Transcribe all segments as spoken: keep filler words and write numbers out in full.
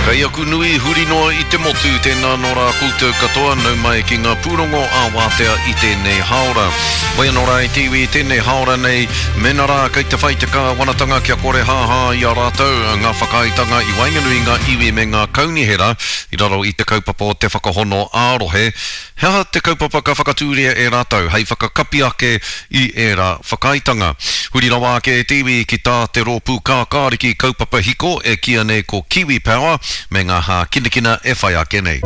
Kei aku nui huri noa i te motu, tēnā nō rā koutou katoa, nau mai ki ngā pūrongo ā-wātea i tēnei hāora. Hoi anō rā e te iwi i tēnei hāora nei, mēnā rā kei te whai te kāwanatanga kia kore hāhā i a rātou ngā whakaaetanga i waenganui i ngā iwi me ngā kaunihera i raro i te kaupapa o te whakahono ā-rohe, He aha te kaupapa ka whakatūria e rātou hei whakakapi ake i ērā whakaaetanga? Huri rawa ake e te iwi ki tā te rōpū kākāriki kaupapa hiko e kīia nei ko Kiwi Power me ngā hākinakina e whai ake nei.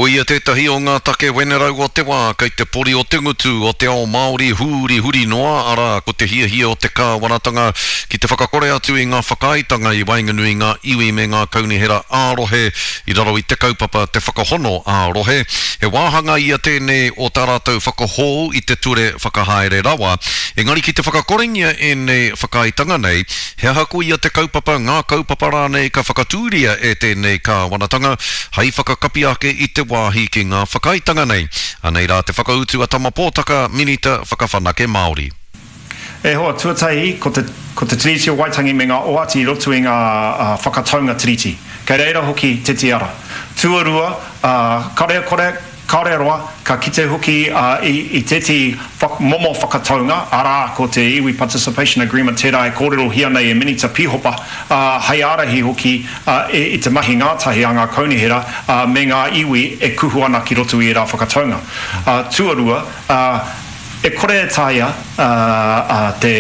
Koia tētahi o ngā take wenerau o te wā kei te pori o te ngutu o te ao Māori hūrihuri noa, arā, ko te hiahia o te kāwanatanga ki te whakakore atu i ngā whakaaetanga i waenganui i ngā iwi me ngā kaunihera ā-rohe i raro i te kaupapa Te Whakahono ā-Rohe. He wāhanga ia tēnei o tā rātou whakahou i te ture whakahaere rawa. Engari ki te whakakorengia ēnei whakaaetanga nei, he aha koia te kaupapa, ngā kaupapa rānei ka whakatūria e tēnei kāwanatanga hei whakakapi ake i te wāhi ki ngā whakaaetanga nei? Anei rā te whakautu a Tama Pōtaka, Minita Whakawhanake Māori. E hoa, tuatahi, ko te, ko te Tiriti o Waitangi me ngā oati i roto i ngā whakataunga Tiriti. Kei reira hoki te tiara. Tuarua, kare kore, Kāore roa, ka kite hoki i tētehi momo whakataunga, arā, ko te Iwi Participation Agreement tērā e kōrerohia nei e Minita Pīhopa, hei ārahi hoki i te mahi ngātahi a ngā kaunihera me ngā iwi e kuhu ana ki roto i ērā whakataunga. Tuarua, e kore e taea te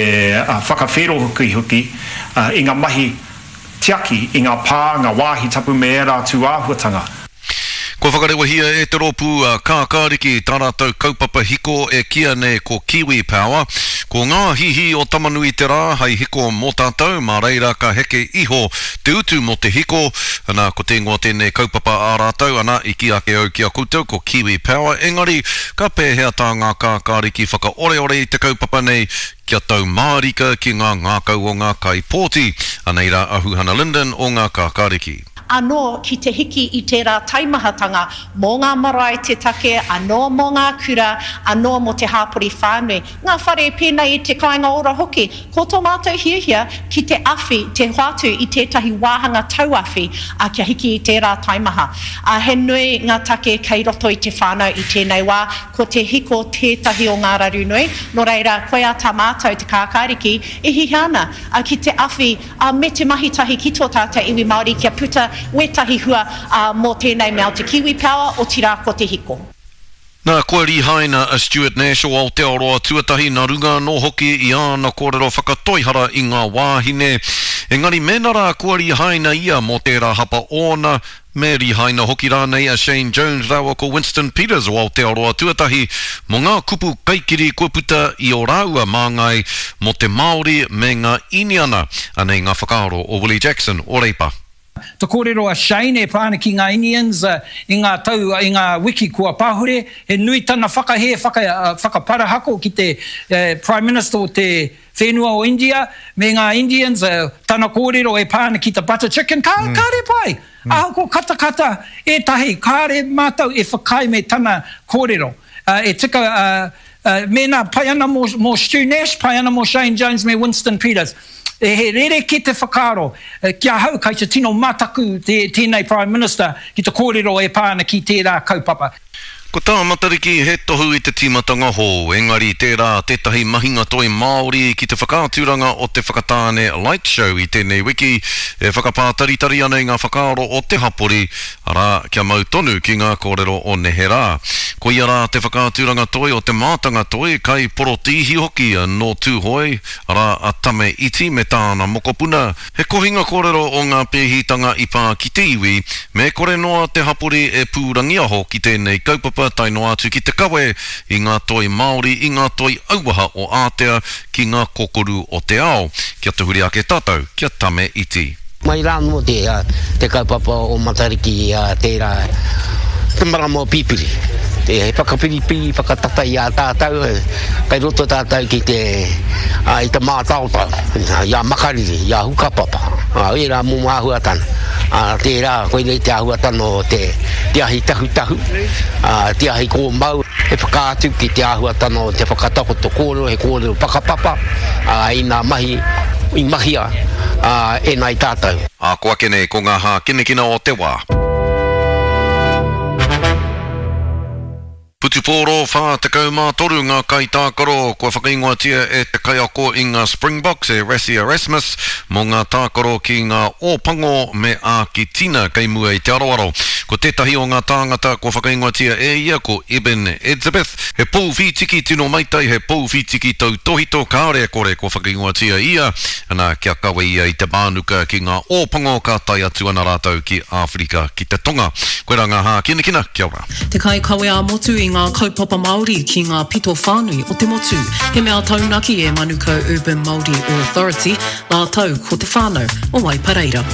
whakawhērohokihoki i ngā mahi tiaki i ngā pā, ngā wāhi tapu me ērā tūāhuatanga. Kua whakarewahia e te rōpū a Kākāriki tā rātou kaupapa hiko e kīia nei ko Kiwi Power. Ko ngā hihi o Tamanui-te-Rā hei hiko mō tātou, mā reira ka heke iho te utu mō te hiko. Ana, ko te ingoa tēnei kaupapa ā rātou, ana, i kī ake au ki a koutou ko Kiwi Power, engari ka pēhea tā ngā Kākāriki whakaoreore i te kaupapa nei kia tau mārika ki ngā ngākau o ngā kaipōti? Anei rā a Huhana Lyndon o ngā Kākāriki. Anō ki te hiki i tērā taimahatanga mō ngā marae te take, anō mō ngā kura, anō mō te hāpori whānui, ngā whare pēnei i te kāinga ora hoki. Ko tō mātou hiahia ki te awhi, te hoatu i tētahi wāhanga tauawhi, ā, kia hiki i tērā taimaha. Ā, he nui ngā take kei roto i te whānau i tēnei wā, ko te hiko tētahi o ngā raru nui, nō reira, koia tā mātou, Te Kākāriki, e hiahia ana, ā, ki te awhi, ā, me te mahi tahi ki tō tātou iwi Māori kia puta wētahi hua, ā, mō tēnei mea o te Kiwi Power, otirā ko te hiko. Nā, kua rihaina a Stuart Nash o Aotearoa Tuatahi nā runga anō hoki i āna kōrero whakatoihara i ngā wāhine. Engari mēnā rā kua rihaina ia mō tērā hapa ōna, Me rihaina hoki rānei a Shane Jones rāua ko Winston Peters o Aotearoa Tuatahi mō ngā kupu kaikiri kua puta i ō rāua māngai mō te Māori me ngā Īniana. Anei ngā whakaaro o Willie Jackson o Reipa. Te kōrero a Shane e pā ana ki ngā Inians i ngā tau, i ngā wiki kua pahure, he nui tana whakahē, whaka, whakaparahako ki te Prime Minister o te whenua o India me ngā Indians, tana kōrero e pā ana ki te butter chicken, ka, kāre pai! Ahakoa katakata ētahi, kāre mātou e whakaae me tana kōrero. E tika, mēnā pai ana mō Stu Nash, pai ana mō Shane Jones me Winston Peters. He rerekē te whakaaro. Ki ahau, kai te tino mataku tēnei Prime Minister ki te kōrero e pā ana ki tērā kaupapa. Ko tā Matariki he tohu i te tīmatanga hou, engari tērā tētahi mahinga toi Māori ki te whakaaturanga o te Whakatāne Light Show i tēnei wiki e whakapātaritari ana i ngā whakaaro o te hapori, arā, kia mau tonu ki ngā kōrero o neherā. Koia rā te whakaaturanga toi o te mātanga toi, kaiporotīhi hoki nō Tūhoe, arā, a Tame Iti me tāna mokopuna, He kohinga kōrero o ngā pēhitanga i pā ki te iwi, me kore noa te hapori e pūrangiaho ki tēnei kaupapa tae noa atu ki te kawe i ngā toi Māori, i ngā toi auaha o Ātea ki ngā kokoru o te ao. Kia tahuri ake tātou kia tame iti. Mai rā anō te kaupapa o Matariki tērā te marama o Pipiri. He whakapiripiri, whakatata i a tātou, kei roto tātou ki te, i te mātaotao, i a Makariri, i a Hukapapa, ērā momo āhuatanga. Tērā, koinei te āhuatanga o te, te ahi tahutahu, te ahi kōmau, he whakaatu ki te āhuatanga o te whakatakoto kōrero, he kōrero whakapapa, i ngā mahi i mahia e nāi tātou. Ā, ko ake nei ko ngā hākinakina o te wā. Putupōro whā tekau mā toru ngā kaitākaro kua whakaingoatia e te kaiako i ngā Springboks e Rassie Erasmus mō ngā tākaro ki ngā Ōpango me Ākitina kei mua i te aroaro. Ko tētahi o ngā tāngata kua whakaingoatia e ia ko Eben Etzebeth, he pou whītiki tino maitai, he pou whītiki tautōhito kāore e kore kua whakaingoatia ia, ana kia kawe ia i te mānuka ki ngā Ōpango ka tae atu ana rātou ki Āwherika ki te Tonga. Koirā ngā hākinakina, kia ora. Te kaikawe ā-motu i ngā kaupapa Māori ki ngā pito whānui o te motu. He mea taunaki e Manukau Urban Māori Authority, rātou ko te whānau o Waipareira.